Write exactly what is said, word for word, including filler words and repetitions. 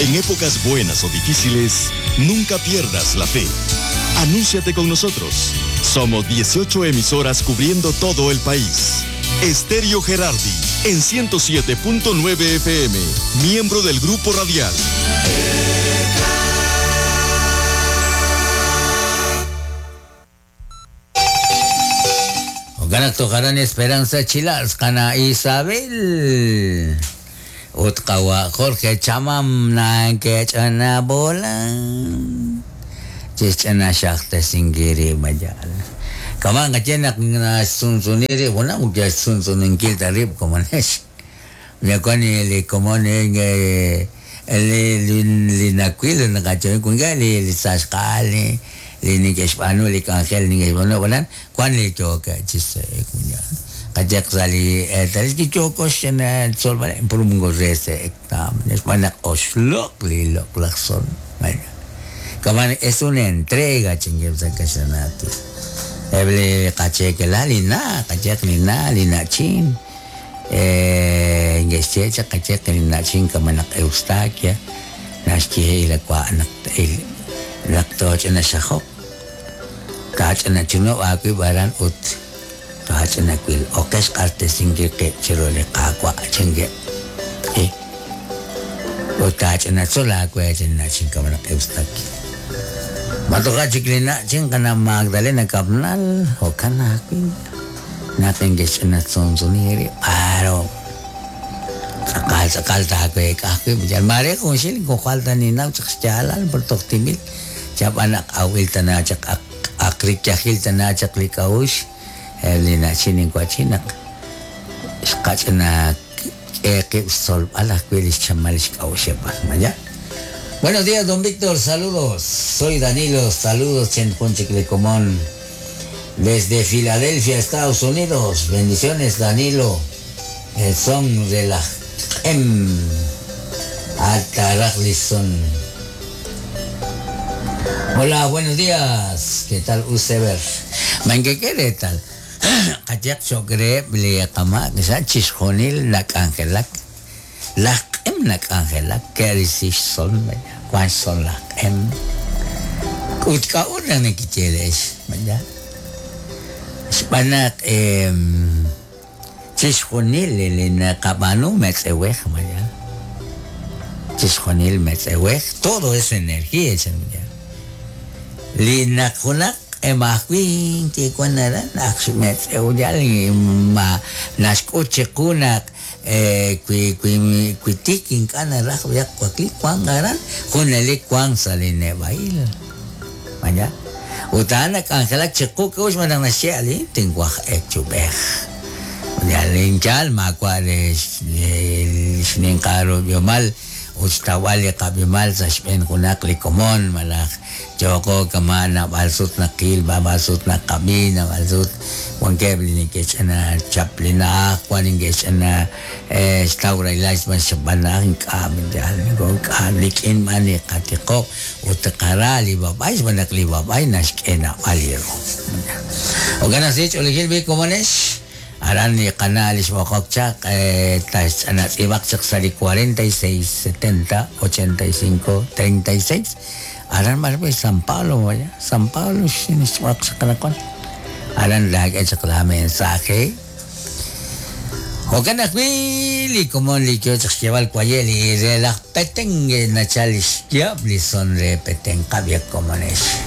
En épocas buenas o difíciles, nunca pierdas la fe. Anúnciate con nosotros. Somos dieciocho emisoras cubriendo todo el país. Estéreo Gerardi, en ciento siete punto nueve F M, miembro del Grupo Radial. Ganaktokaran Esperanza Chilas, kana Isabel. Utkawa Jorge Chamam na kechana bola. Chichana shakta singiri majal. Kamang kachenak na sunsuniri, wala mo kaya sunsunin kilta rib komanesh. Yakoni li komone nge li li nakwil na kachoy kunga li li sashkali li nikeshpanu li kangel nikeshpanu wala kwan li choka chise kunya. Kajak sali tal ki chokos na sol vale por un gorrese ektam neshpanak oslok li lok lakson. Kaman es una entrega chingue sakashanati. Eble kache la lina, kache lina lina chin. Eh ngechecha kache lina chin kamanak Eustaquia. Nashki ila kwa anak il laktoch na shahok. Kach na chuno aku baran ut. Kach na kwil okesh karte singir ke chirole kakwa chingue. Eh. Utach na sola kwa chin na chin kamanak Eustaquia. Matoka chiklina chin kana Magdalena Kapnal o kana natin guys na sonsuniri paro sakal sakal ta ko ekake bijan mare kung sil ko kalta ni na tsalan por toktimil chap anak awil tana chak akrik chakil tana chaklikaush elina chinin kwachinak skachna eke sol ala kwilis chamalis kaushepa maya. Buenos días, don Víctor, saludos. Soy Danilo, saludos en Ponchiclecomón. Desde Filadelfia, Estados Unidos. Bendiciones, Danilo. El son de la M. Atarajlison. Hola, buenos días. ¿Qué tal, Usever? ¿Qué quiere tal? Kayak chokre bliakama, que chisjonil nakangelak. La M nakangelak, que dices son, ¿cuál son las M? Utka una nekicheles, ¿verdad? Spanak eh chisjonil el nakabanu metzewej, ¿verdad? Chisjonil metzewej, todo es energía, ¿verdad? Linakunak emakwin que cuando ma naskuchekunak eh kui kui kuitikin kana raj ya kuakli kuan garan juneli kuan saline bail maya utana angela cheku que us manang nasiali tinguaj echubej ya linchal macuales sninkaro biomal ustawali kabimal sa shpen kunak likomon malak choko kamana balsut na kil babasut na kabina balsut wankebli ni kechana chaplina kwanin kechana eh staura ilais man shabana kamin jal go kalikin mani katiko utqarali babay manak li babay nashkena aliro ogana sich oligil bi komones aran ni canales bokokchak eh tas anas ibak sali cuarenta y seis setenta ochenta y cinco treinta y seis aran marbe San Pablo vaya San Pablo sin sakana aran lag echakla mensaje Ocanak bili como li yo lleva el cuayeli de las petengue nachalis diabli son de peten cabia como es.